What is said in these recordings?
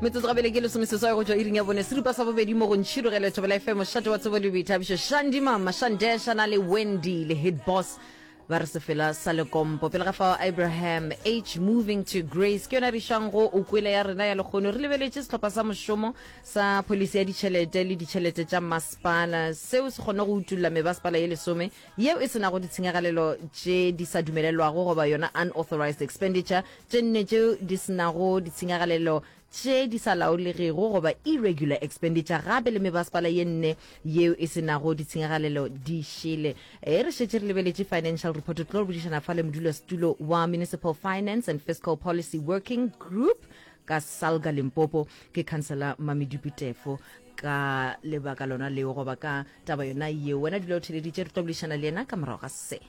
Metsotso gabele ke lesomeseswai go tšwa iring ya bone seripa sa bobedi mo go Ntšhirogele Thobela FM mošate wa tsebo le boithabišo Shandy Mama Shandesha na le Wendy le Hit Boss ba re sefela sa lekompo pele ga fao Abraham H moving to grace ke yona re išang go o kwele ya rena ya lekgono re lebeletše sehlopha sa mošomo sa pholisi ya ditšhelete le ditšhelete tša masepala seo se kgone go utulla mebasepala ye lesome yeo e se nago ditshenyagalelo tše di sa dumelelwago goba yona unauthorized expenditure, tše nne tšeo di se nago ditshenyagalelo tše di sa laolegego goba irregular expenditure gape le mebasepala ye nne yeo e se nago ditshenyagalelo di šele. E re šetše re lebeletše financial report, re tlo bodišana fa le modulasetulo wa Municipal Finance and Fiscal Policy Working Group ka Salga Limpopo ke Councillor Mamedupi Tefo ka lebaka lona leo goba ka taba yona yeo. Wena dula o theleditše, re tlo boledišana le yena ka morago ga se.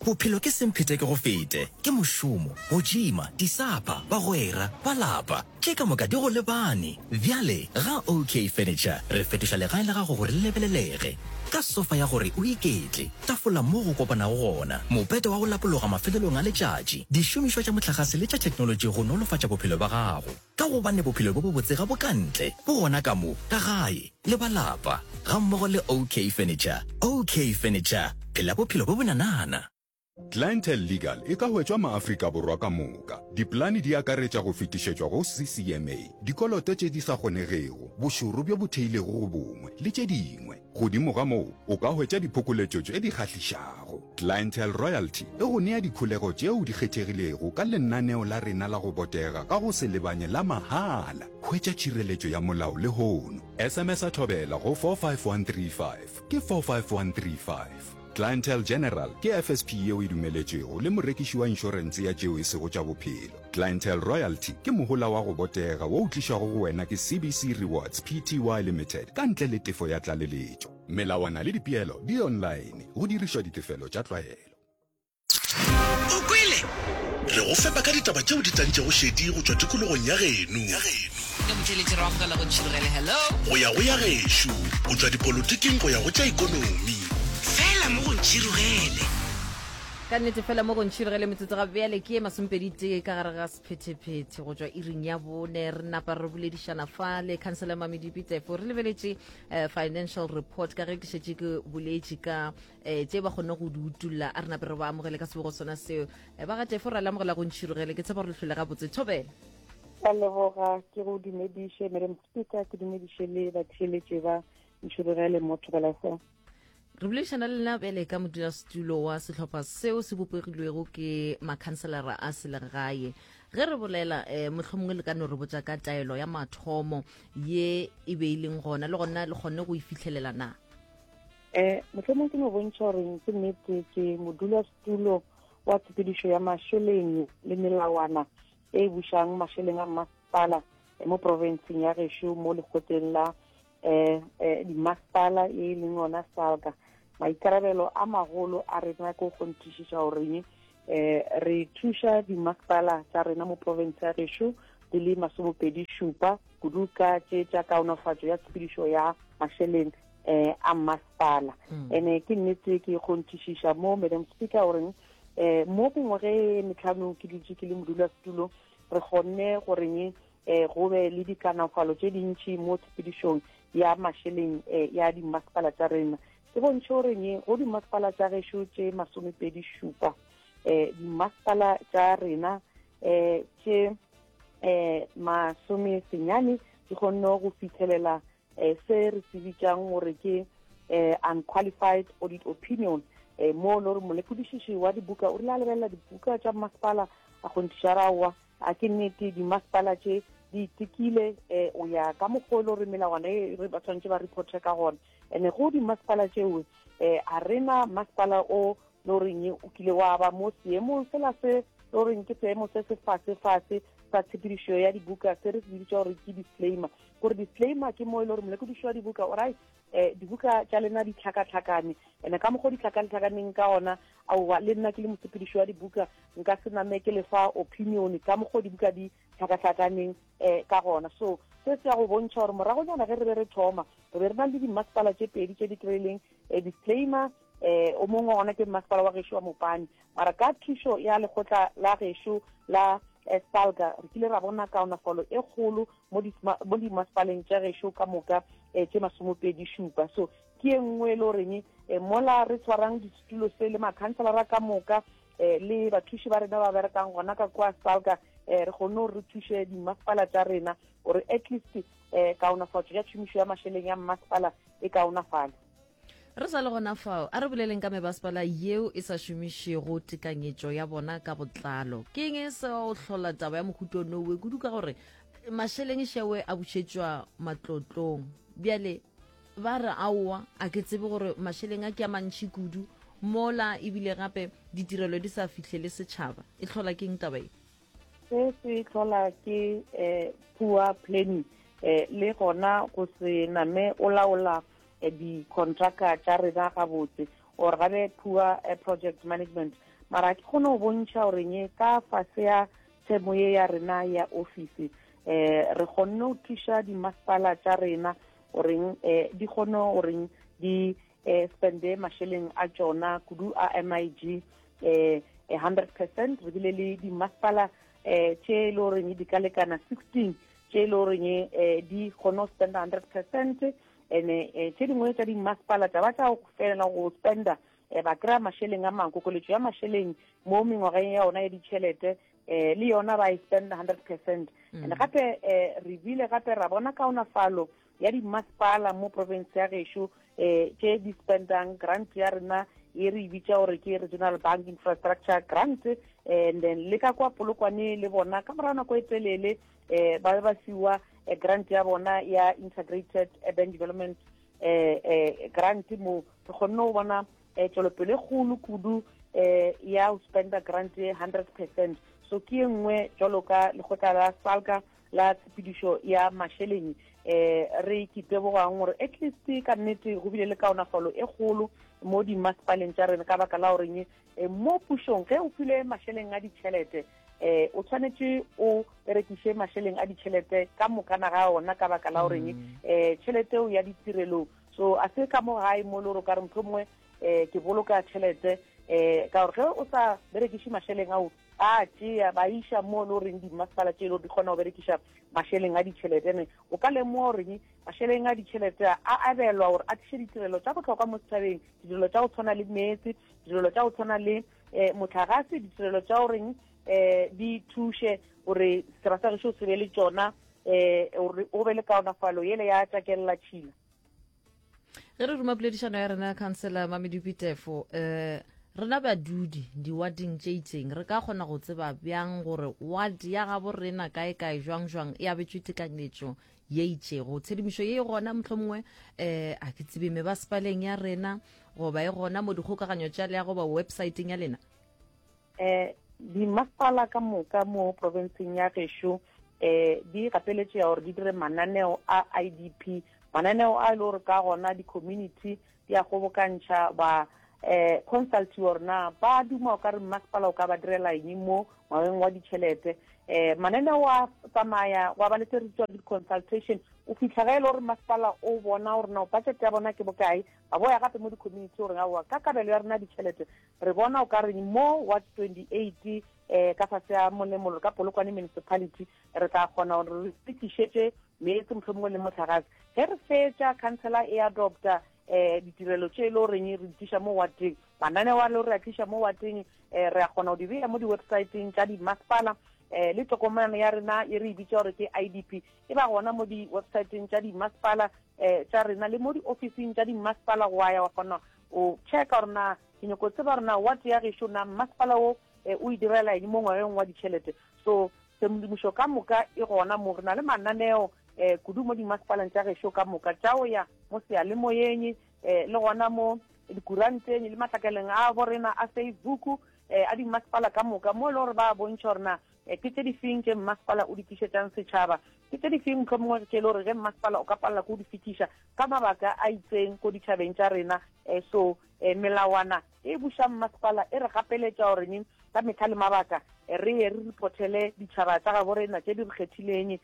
Bophelo ke semphete ke go fete, ke mošomo, go tšima, disapa, bagwera, ba lapa, tše ka moka di go lebane. Bjale ga OK Furniture re fetoša legae la gago gore le lebelelege. Ka sofa ya gore o iketle, tafola mo go kopanago gona, mopete wa go lapologa mafelelong a letšatši, dišomišwa tša mohlagase le tša theknolotši go nolofatša bophelo bja gago. Ka gobane bophelo bjo bobotse ga bo ka ntle, bo gona ka mo, ka gae, le ba lapa, gammogo le OK Furniture. OK Furniture, phela bophelo bjo bonanana. Clientele Legal e ka hwetšwa maAfrika Borwa ka moka. Dipolane di akaretša go fetišetšwa go CCMA, dikoloto tše di sa kgonegego, bošoro bjo bo theilego go bongwe, le tše dingwe. Godimo ga moo, o ka hwetša diphokoletšo tše di kgahlišago. Clientele Royalty e go nea dikholego tšeo di kgethegilego ka lenaneo la rena la go botega ka go se lebanye la mahala. Hwetša tšhireletšo ya molao lehono. SMS-a Thobela go 45135. Ke 45135. Clientele General ke FSP yeo e dumeletšwego le morekiši wa inšorense ya tšeo e sego tša bophelo. Clientele Royalty ke mohola wa go botega wo o tlišwago go wena ke CBC Rewards Pty Limited ka ntle le tefo ya tlaleletšo. Melawana le dipeelo di online go dirišwa ditefelo tša tlwaelo. O kwele? Re go fepa ka ditaba tšeo di tantšego šedi go tšwa tikologong ya geno. Ke motheeletši re amogela go Ntšhirogele. Hello. Go ya go ya gešo, go tšwa dipolotiking go ya go tša ikonomi. Fela mo go Ntšhirogele. Ka nnete fela mo go Ntšhirogele metsotso ga bjale ke ye masomepedi-tee ka gare ga sephetephete go tšwa iring ya bone. Re napa re boledišana fa le Councillor Mamedipi Tefo re lebeletše eh, financial report ka ge ke šetše ke boletše ka eh, tše ba kgonne go di utulla. A re nape re ba amogele ka sebego sona seo. Eh, ba ga Tefo ra le amogela go Ntšhirogele. Ke tshepa gore le hlole gabotse. Thobela. Ka leboga ke go dumediše Madam Speaker, ke dumediše le batheeletše ba Ntšhirogele mo Thobela FM. Re boledišana le lena bjale ka modulasetulo wa sehlopha seo se bopegilwego ke makhanselara a selegae. Ge re bolela eh, mohlomongwe le ka no re botša ka taelo ya mathomo ye e be e leng gona le gona le kgonne go e fihlelela na? Eh, mohlomong ke no bontšha gore ke nnete ke modulasetulo wa tshepedišo ya mašeleng le melawana e bušang mašeleng a mmasepala eh, mo profenseng ya gešo mo lekgotleng la eh, eh, dimasepala e leng ona salga. Maikarabelo a magolo a rena ke go kgonthišiša gore eh, re thuša dimasepala tša rena mo province ya gešo di le masomepedi šupa kudu ka tše tša kaonafatšo ya tshepedišo ya mašeleng eh, a mmasepala. Ene ke nnete ke kgonthišiša mo Madam Speaker goreng eh, mo mengwaga e metlhano ke dutše ke le modulasetulo re kgonne goreng eh, go be le dikanafalo tše dintši mo tshepedišong ya mašeleng eh, ya dimasepala tša rena. Ke bontšhe goreng go dimasepala tša gešo tše masomepedi šupa eh, dimasepala tša rena eh, tše eh, masome senyane di kgonne go fitlhelela eh, se re se bitšang gore ke eh, unqualified audit opinion, eh, mo le gore molekodišiši wa dibuka o rile a lebelela dibuka tša mmasepala a kgonthiša raowa a ke nnete dimasepala tše di itekile eh, o ya ka mokgwa e le gore melawana e re ba tshwanetse ba reporte ka gona. Ene go dimasepala tšeo eh, a rena masepala o le goreng o kile wa ba mo seemong sela se le goreng ke seemo se se fase-fase sa tshepedišo ya dibuka se re se bitša gore ke disclaimer. Gore disclaimer ke mo e le gore molekodiši wa dibuka o ra eh, dibuka tša lena di tlhakatlhakane, ene ka mokgwa o di tlhakatlhakaneng ka ona aowa le nna ke le mosepediši wa dibuka nka se name ke lefa opinion ka mokgwa o dibuka di tlhakatlhakaneng eh, ka gona. So se se ya go bontšha gore moragonyana ge re be re thoma re be re na le dimasepala tše pedi tše di kry-ileng eh, disclaimer eh, o mongwe wa gona ke mmasepala wa gešo wa Mopani, mara ka thušo ya lekgotla la gešo la SALGA re kile ra bona kaonafalo e kgolo mo mo dimasepaleng tša gešo ka moka tše masomopedi šupa. So ke e nngwe e le goreng mola re tshwarang disetulo se le makhanselara ka moka le bathuši ba rena ba berekang gona ka kwa SALGA, re kgonne gore re thuše dimasepala tša rena gore at least kaonafatšo ya tšhomišo ya mašeleng ya mmasepala e kaonafale. Re sa le gona fao, a re boleleng ka mebasepala yeo e sa šomišego tekanyetšo ya bona ka botlalo. Ke eng se o hlola taba ya mohuto nowe kudu ka gore mašeleng šewe a bušetšwa matlotlong? Bjale ba re aowa, a ke tsebe gore mašeleng a ke a mantši kudu mola ebile gape ditirelo di sa fihlele setšhaba. E hlola ke eng taba ye? Se se hlola ke poor planning le gona go se name o laola dikontraka tša rena gabotse, or gabe poor project management. Mara ke kgone go bontšha gore nye ka fase ya themo ye ya rena ya office, re kgonne go thuša dimasepala tša rena goreng di kgone goreng di spende mašeleng a tšona kudu a MIG 100%. Re bile le dimasepala tše e le goreng di ka lekana 16 tše e le goreng di kgone go spenda 100%, ene tše dingwe tša dimasepala tša ba tša felela go spenda, ba kry-a mašeleng a mangwe, kokoletšo ya mašeleng mo mengwageng ya ona ya ditšhelete, le yona ba e spenda 100%. And gape re bile gape ra bona kaonafalo ya dimasepala mo province ya gešo tše di spendang grant ya rena e re e bitša gore ke Regional Bank Infrastructure Grant. And then le ka kwa Polokwane le bona ka morago nako e telele ba be ba fiwa grant ya bona ya Integrated Urban Development Grant, mo re kgonne go bona tšwelopele e kgolo kudu ya go spenda grant e 100%. So ke e nngwe jalo ka lekgotla la SALGA la tshepedišo ya mašeleng re ke tebogang gore at least ka nnete go bile le kaonafalo e kgolo mo dimasepaleng tša rena, ka baka la goreng mo pušong ge o filwe mašeleng a ditšhelete, o tshwanetše o berekiše mašeleng a ditšhelete ka mokana ga ona, ka baka la goreng tšhelete eo ya ditirelong. So a se ka mo gae mo le gore o ka re motho mongwe ke boloka tšhelete, ka gore ge o sa berekiše mašeleng ao, ba tšea ba iša mo le goreng dimasepala tše e le gore di kgona go berekiša mašeleng a ditšhelete. Ene o ka lemoga goreng mašeleng a ditšhelete a abelwa gore a tliše ditirelo tša bohlokwa mo setšhabeng, ditirelo tša go tshwana le meetse, ditirelo tša go tshwana le motlagase, ditirelo tša goreng di thuše gore setšhaba sa gešo se be le tšona, gore go be le kaonafalo yele ya tšakelela tšhila. Ge re ruma poledišano ya rena, Councillor Mamedupi Tefo, rena badudi diwading tše itseng re ka kgona go tseba bjang gore ward ya gabo rena kae kae jwang jwang e abetšwe tekanyetšo ye itšego? Tshedimošo ye e gona mohlomongwe a ke tsebe mebasepaleng ya rena, goba e gona mo dikgokaganyo tša leago goba websaeteng ya lena? Dimasepala ka moka mo profenseng ya gešo di gapeletšega gore di dire mananeo a IDP, mananeo a e le gore ka gona di-community di a kgobokantšha ba consultiwa gore na ba duma o ka re mmasepala o ka ba direla eng mo ngwageng wa ditšhelete. Mananeo a tsamaya gwa ba le tse re bitswang di-consultation, o fihla ge e le gore mmasepala o bona gore na budget ya bona ke bokae, ba boya gape mo di-community gore aowa ka kabelo ya rena ditšhelete re bona o ka re mo ward 28 ka fase ya Molemolo ka Polokwane Municipality re tla kgona gore re tlišetše meetse mohlomongwe le mohlagase. Ge re fetša councillor e adopta ditirelo tše e le goreng re di tliša mo wardeng, mananeo a le gore re a tliša mo wardeng, re a kgona go di beya mo di-websiteng tša dimasepala, le tokomane ya rena e re e bitša gore ke IDP e ba gona mo di-websiteng tša dimasepala tša rena le mo di-officing tša dimasepala, go ya wa kgona o checka gore na ke nyako tseba gore na ward ya gešo na mmasepala wo o e direla eng mo ngwageng wa ditšhelete. So tshedimošo ka moka e gona mo, re na le mananeo kudu mo dimasepaleng tša gešo ka moka tša go ya mo seyalemoyeng, le gona mo dikuranteng le matlakaleng a borena a Facebook a dimasepala ka moka, mo e le gore ba bontšha gore na ke tše di feng tše mmasepala o di tlišetšang setšhaba, ke tše di feng mohlomongwe tše e le gore ge mmasepala o ka palela ke go di fetiša ka mabaka a itseng ko ditšhabeng tša rena. So melawana e bušang mmasepala e re gapeletša gore neng ka mehla le mabaka re ye re reportele ditšhaba tša gabo rena tše di re kgethileng,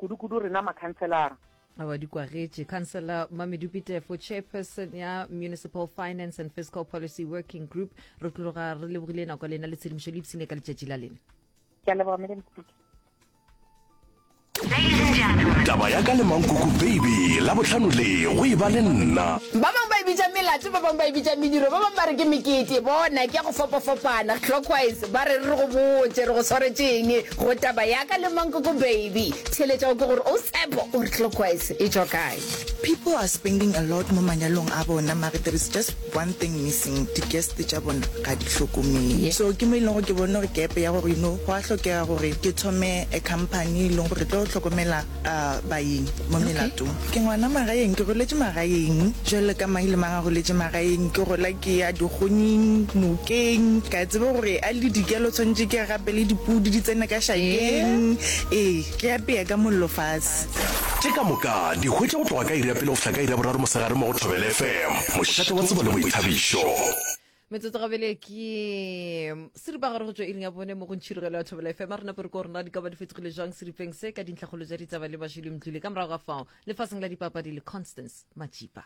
kudu-kudu rena makhanselara. Aowa di kwagetše. Councillor Mamedupi Tefo, Chairperson ya Municipal Finance and Fiscal Policy Working Group, re tloga re lebogile nako ya lena le tshedimošo le ipshine ka letšatši la lena. Ke a leboga Madam Speaker. Taba ya ka le Mankuku Baby Labohlano le go e ba le nna. Ba bangwe ba e bitša melato, ba bangwe ba e bitša mediro, ba bangwe ba re ke mekete. Bona, ke ya go fapafapana. Clockwise, ba re re go botše re go swaretše eng go taba ya ka le Mankoko Baby. Theeletša o kwe gore o Tshepo o re Clockwise e tšwa kae. People are spending a lot mo manyalong a bona mare there is just one thing missing, di guest tša bona ga di hlokomele. So ke mo e leng gore ke bone gore gap ya gore you know go a hlokega gore ke thome a company e leng gore e tlo hlokomela baeng mo melatong. Ke ngwana magaeng, ke goletše magaeng jwalo ka mang le mang a goletše magaeng. Ke gola ke ya dikgonyeng, nokeng, ka tseba gore a le dikelo tshwanetše ke gape le dipudi di tsene ka šakeng. Ee, ke apea ka mollo fase. Tše ka moka di hwetše go tloga ka iri ya pele go fihla ka iri ya boraro mosegare mo go Thobela FM, mošate wa tsebo le boithabišo. Metsotso gabele ke seripagare go tšwa iring ya bone mo go ntšhirogelo ya Thobela FM. A re nape re ko rena di ka ba di fetogile jwang seripeng se ka dintlhakgolo tša ditaba le Bašili Mdluli ka morago ga fao lefaseng la dipapadi le Constance Matšipa.